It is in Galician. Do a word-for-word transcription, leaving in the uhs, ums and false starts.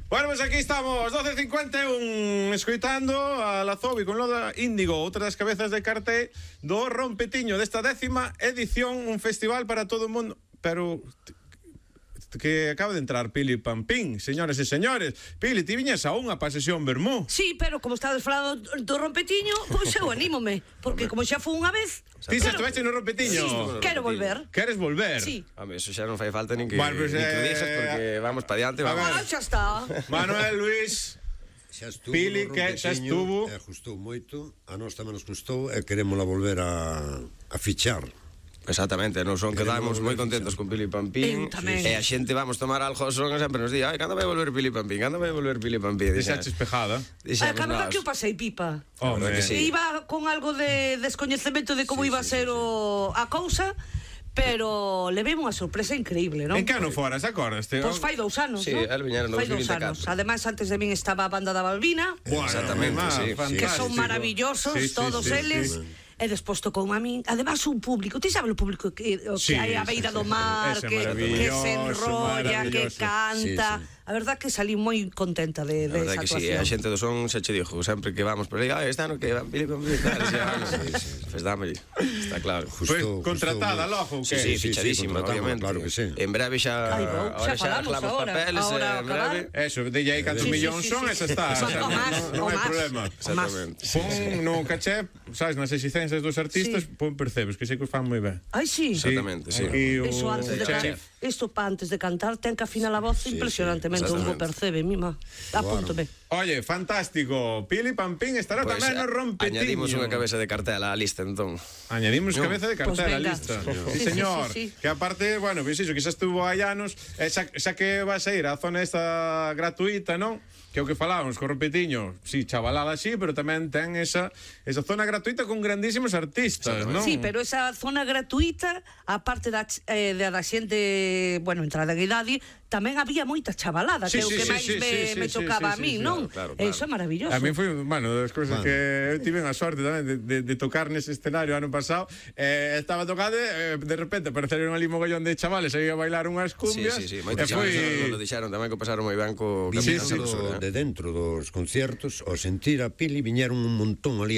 Bueno, pues aquí estamos, doce cincuenta e un, escoitando a Lazobi con Loda Índigo, outra das cabezas de cartel do rompetiño desta décima edición, un festival para todo o mundo, pero que acaba de entrar Pili Pampín, señores e señores. Pili, ti viñas a unha pa sesión Bermú. Sí, pero como estades falando do rompetiño, pois eu anímome, porque como xa foi unha vez. Ti xa estuveste no rompetiño? Sí, quero volver. Queres volver? Sí. Home, eso xa non fai falta nin que, bueno, pues, nin que o eh, dixas, porque vamos pa diante. Vamos. Ah, xa está. Manuel, Luis, xa estuvo Pili, que xa estuvo. E gustou moito, a nós tamén nos gustou e querémola volver a, a fichar. Exactamente, nos son quedamos moi contentos con Pili Pampín. E a xente vamos tomar algo ao son e sempre nos di, ai, cando vai volver Pili Pampín, cando vai volver Pili Pampín. Deixaches pejada. A cámara que eu pasei pipa. Hombre, que sí. Iba con algo de descoñecemento de como iba a ser o a cousa, pero levei unha sorpresa increíble, non? En que ano foras, acordaste? Pois fai dous anos, Sí, non? el viñeron Fai no dous dos mil anos. veinticuatro. Ademais, antes de min estaba a banda da Balbina, Bueno, Exactamente, má, sí. fantástico. que son maravillosos, Sí, sí, todos sí, eles. sí. E despois tocou a min, además un público, ti sabes o público que, o Sí, que hai a sí, beira sí, do sí. mar, Ese que, que maravilloso, se enrolla, que maravilloso. canta. Sí, sí. A verdad que salí moi contenta de, de esa A verdade que sí, actuación. a xente do son se che dixo, sempre que vamos por aí, ai, este ano que van Pili Pampín, tal, xa vamos. Pues dámoslle, está claro. Pues contratada logo, ou Sí, que? sí, Sí, sí, fichadísima, contratamos, obviamente. claro que sí. En breve xa, Ai, vou, ahora xa xa falamos arreglamos ahora. papeles, Ahora, en breve. acabar. Eso, dille aí cantos Sí, sí, millóns sí, son, sí. esa está. Exacto, xa, o más, non o hai más. problema. Exactamente. Pon no caché, sabes, nas exigencias dos artistas, Sí. pon percebes que sei que os fan moi ben. Ai, sí. Exactamente, sí. Aquí o Eso antes de chef. cantar, isto pa antes de cantar ten que afinar a voz impresionantemente, un bo exactamente. percebe, mima. Apúntome. Oye, fantástico. Pili Pampín estará Pues, tamén no rompetiño. añadimos unha cabeza de cartel á lista, entón. Añadimos No. cabeza de Pues cartel á venga. lista. Sí, Sí, sí, señor. sí, sí. Que aparte, bueno, pois iso, quizás estuvo hai anos, eh, xa, xa que vas a ir á zona esta gratuita, non? Que é o que falábamos co rompetiño. Sí, chavalada así, pero tamén ten esa esa zona gratuita con grandísimos artistas, non? Sí, pero esa zona gratuita, a parte da, ch- eh, da, da xente, bueno, entrada en idade, tamén había moita chavalada, Sí, que é o sí, que sí, máis sí, me, sí, me sí, chocaba sí, a sí, mí, sí, non? claro, claro. Eso é maravilloso. A mí foi, bueno, das cousas Bueno. que eu tive a sorte tamén de, de, de tocar nese escenario ano pasado. Eh, estaba tocando, eh, de repente apareceron ali mogollón de chavales aí a bailar unhas Sí, cumbias. sí, sí, e moitos foi... foi... lo dixeron tamén que pasaron moi ben co Viñeron Capitán do- Saxo, eh? de dentro dos conciertos, ao sentir a Pili, viñeron un montón ali a